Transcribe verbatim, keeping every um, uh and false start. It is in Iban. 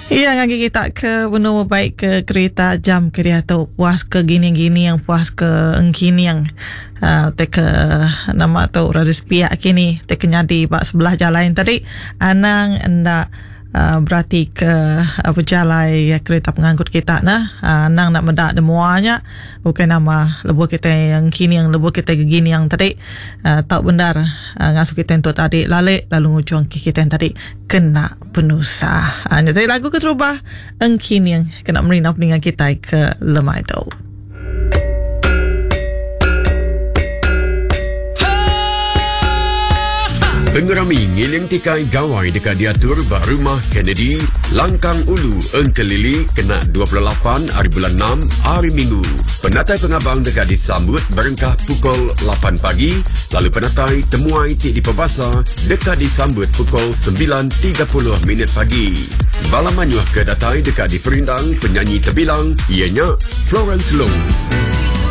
Iya ngagi kita ke benua baik ke kereta jam ke dia tu puas ke gini-gini yang puas ke engkining uh, te ke nama tu rada sepiak kini te ke nyadi ba sebelah jalan tadi anang enda Uh, berarti ke uh, berjalai uh, kereta pengangkut kita nah uh, nang nak medak demuanya bukan nama lebuh kita yang kini yang lebuh kita gini yang tadi uh, tak benar uh, ngasuh kita untuk tadi lalik lalu ngujung ke kita yang tadi kena penusah. Uh, tadi lagu keterubah engkini yang kena merina peningan kita ke lemai tu. Pengerami ngiling tikai gawai dekat diatur ba rumah Kennedy, Langkang Ulu, Engkelili kena dua puluh lapan hari bulan enam hari Minggu. Penatai pengabang dekat disambut berengkah pukul lapan pagi, lalu penatai temuai ti di Pebasa dekat disambut pukul sembilan tiga puluh minit pagi. Bala manyuh ke datai dekat diperindang penyanyi terbilang ianya Florence Long.